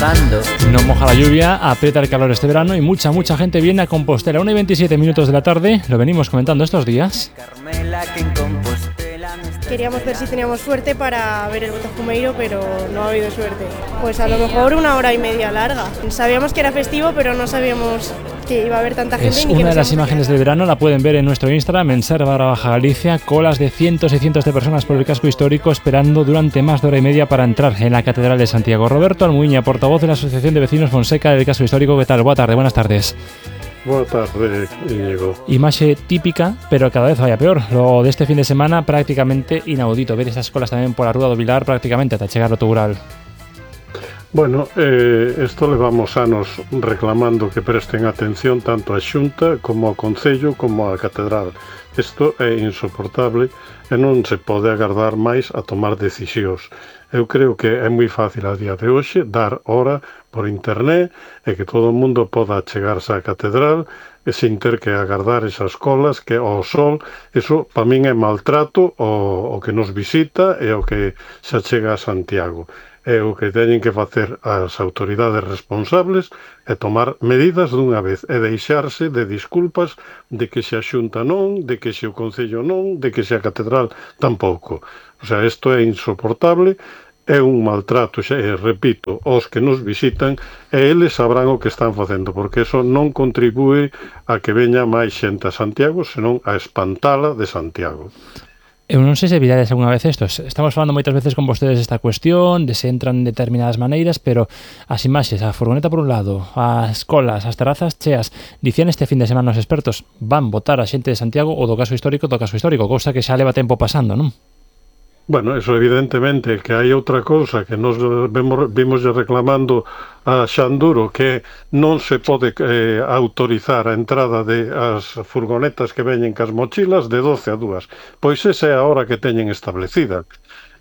mojando. No moja la lluvia, aprieta el calor este verano y mucha gente viene a Compostela. 1:27 de la tarde, lo venimos comentando estos días. Queríamos ver si teníamos suerte para ver el Botafumeiro, pero no ha habido suerte. Pues a lo mejor 1 hora y media larga. Sabíamos que era festivo, pero no sabíamos que iba a haber tanta gente. Es una de las imágenes del verano, la pueden ver en nuestro Instagram, en Serra_Baja Galicia, colas de cientos y cientos de personas por el casco histórico esperando durante más de hora y media para entrar en la Catedral de Santiago. Roberto Almuiña, portavoz de la Asociación de Vecinos Fonseca del casco histórico, ¿qué tal? Buenas tardes. Boa tarde, Íñigo. Imaxe típica, pero cada vez vaya peor. Lo de este fin de semana prácticamente inaudito. Ver esas colas tamén pola Rúa do Vilar prácticamente ata chegar ao Tugural. Bueno, isto levamos anos reclamando que presten atención tanto a Xunta como ao Concello como á Catedral. Isto é insoportable e non se pode agardar máis a tomar decisións. Eu creo que é moi fácil a día de hoxe dar hora por internet e que todo o mundo poda chegarse á catedral e sin ter que agardar esas colas que ao sol, eso para min é maltrato o que nos visita e o que se achega a Santiago. E o que teñen que facer as autoridades responsables é tomar medidas dunha vez e deixarse de disculpas de que se a Xunta non, de que se o Concello non, de que se a catedral tampouco. O sea, isto é insoportable, é un maltrato, xa, repito, aos que nos visitan e eles sabrán o que están facendo, porque eso non contribúe a que veña máis xente a Santiago, senón a espantala de Santiago. Eu non sei se virades algunha vez isto. Estamos falando moitas veces con vostedes esta cuestión, de se entran de determinadas maneiras, pero as imaxes, a furgoneta por un lado, as colas, as terrazas cheas, dicían este fin de semana os expertos, van votar a xente de Santiago ou do caso histórico, cousa que xa leva tempo pasando, non? Bueno, eso evidentemente, que hai outra cousa que nos vimos reclamando a Xanduro, que non se pode autorizar a entrada de as furgonetas que veñen cas mochilas de 12 a 2. Pois esa é a hora que teñen establecida.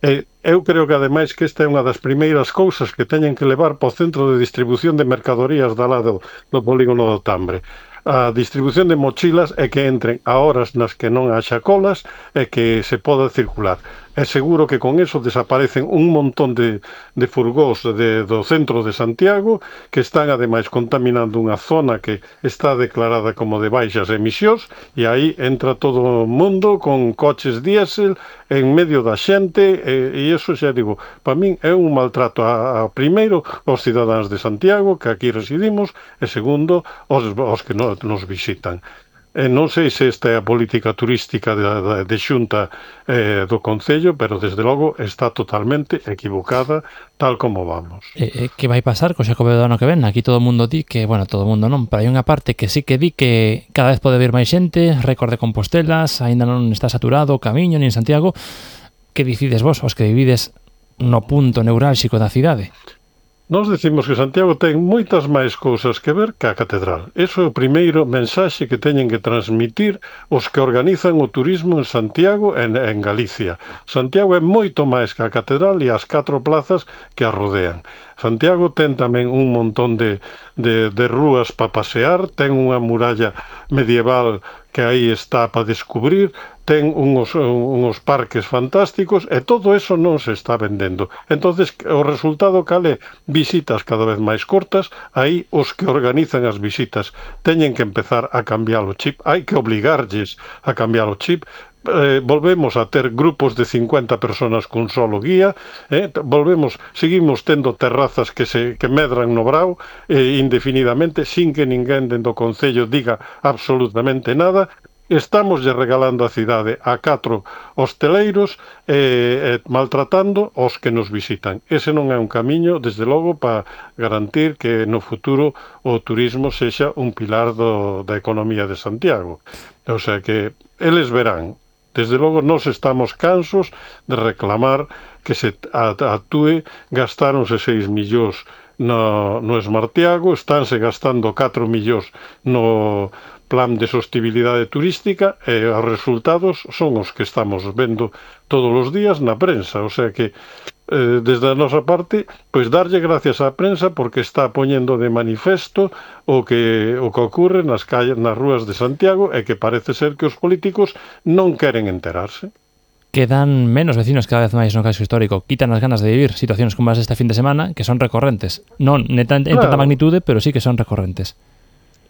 Eu creo que ademais que esta é unha das primeiras cousas que teñen que levar para o centro de distribución de mercadorías da lado do polígono do Tambre. A distribución de mochilas é que entren a horas nas que non haxa colas e que se poda circular. É seguro que con eso desaparecen un montón de furgós do centro de Santiago que están ademais contaminando unha zona que está declarada como de baixas emisións e aí entra todo o mundo con coches diésel en medio da xente e iso xa digo, para min é un maltrato a primeiro aos cidadáns de Santiago que aquí residimos e segundo aos que nos visitan. Non sei se esta é a política turística de Xunta do Concello, pero desde logo está totalmente equivocada tal como vamos. Que vai pasar co Xacobeo do ano que ven? Aquí todo o mundo di que, bueno, todo o mundo non, pero hai unha parte que sí que di que cada vez pode vir máis xente, récord de Compostelas, aínda non está saturado o camiño ni en Santiago. Que dicides vos, os que vivides no punto neurálxico da cidade? Nós decimos que Santiago ten moitas máis cousas que ver que a catedral. Eso é o primeiro mensaxe que teñen que transmitir os que organizan o turismo en Santiago e en Galicia. Santiago é moito máis que a catedral e as 4 plazas que a rodean. Santiago ten tamén un montón de rúas para pasear, ten unha muralla medieval que aí está para descubrir, ten uns parques fantásticos e todo eso non se está vendendo. Entonces, o resultado cal é? Visitas cada vez máis cortas, aí os que organizan as visitas teñen que empezar a cambiar o chip, hai que obligarlles a cambiar o chip. Volvemos a ter grupos de 50 personas cun solo guía, seguimos tendo terrazas que medran no brao indefinidamente, sin que ninguén dentro do Concello diga absolutamente nada. Estamos regalando a cidade a 4 hosteleiros maltratando os que nos visitan. Ese non é un camiño, desde logo, para garantir que no futuro o turismo sexa un pilar da economía de Santiago. O sea que eles verán. Desde logo, nós estamos cansos de reclamar que se actúe, gastáronse 6 millóns no Esmartiago, estánse gastando 4 millóns no plan de sostibilidade turística e os resultados son os que estamos vendo todos os días na prensa, o sea que desde a nosa parte, pois darlle gracias á prensa porque está poñendo de manifesto o que ocorre nas rúas de Santiago e que parece ser que os políticos non queren enterarse. Quedan menos vecinos cada vez máis no casco histórico. Quitan as ganas de vivir situacións como as este fin de semana, que son recorrentes. Non en tanta magnitude, pero sí que son recorrentes.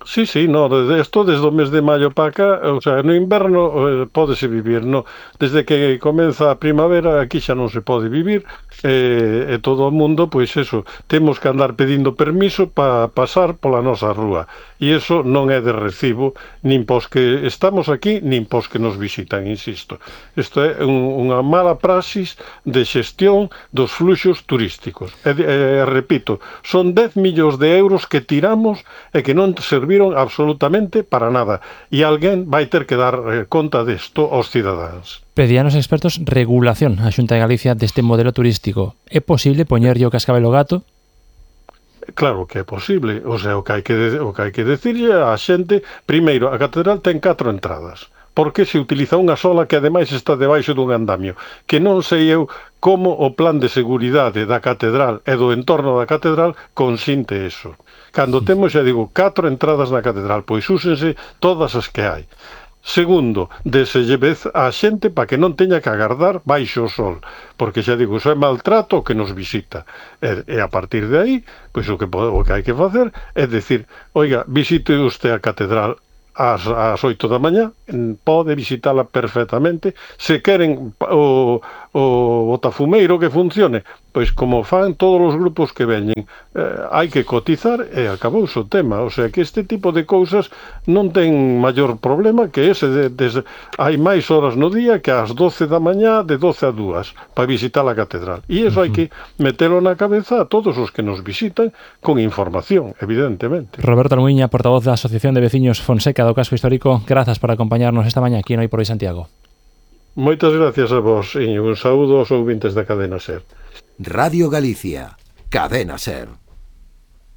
Sí, no, isto desde o mes de maio para cá, o sea, no inverno pódese vivir, no, desde que comeza a primavera aquí xa non se pode vivir, e todo o mundo, pois eso, temos que andar pedindo permiso para pasar pola nosa rúa, e iso non é de recibo, nin pos que estamos aquí, nin pos que nos visitan, insisto. Isto é unha mala praxis de xestión dos fluxos turísticos. Repito, son 10 millóns de euros que tiramos e que non serviron absolutamente para nada, e alguén vai ter que dar conta desto aos cidadáns. Pedían os expertos regulación a Xunta de Galicia deste modelo turístico. É posible poñerlle o cascabel ao gato? Claro que é posible, o sea, o que hai que decirlle á xente, primeiro, a catedral ten 4 entradas. Por que se utiliza unha sola que ademais está debaixo dun andamio? Que non sei eu como o plan de seguridade da catedral e do entorno da catedral consinte eso. Cando temos, xa digo, 4 entradas na catedral, pois úsense todas as que hai. Segundo, deselle vez á xente para que non teña que agardar baixo o sol, porque xa digo, iso é maltrato que nos visita. E a partir de aí, pois o que hai que facer é decir, oiga, visite usted a catedral ás 8 da mañá, pode visitala perfectamente. Se queren o botafumeiro que funcione, pois como fan todos os grupos que veñen, hai que cotizar e acabouse o tema. O sea que este tipo de cousas non ten maior problema que ese hai máis horas no día que ás 12 da mañá de 12 a 2 para visitar a catedral, e iso hai que metelo na cabeza a todos os que nos visitan con información, evidentemente. Roberto Almuiña, portavoz da Asociación de Veciños Fonseca do Casco Histórico, grazas por acompañarnos esta mañá aquí en Hoy por Hoy Santiago. Moitas gracias a vos e un saúdo aos ouvintes da Cadena SER. Radio Galicia, Cadena SER.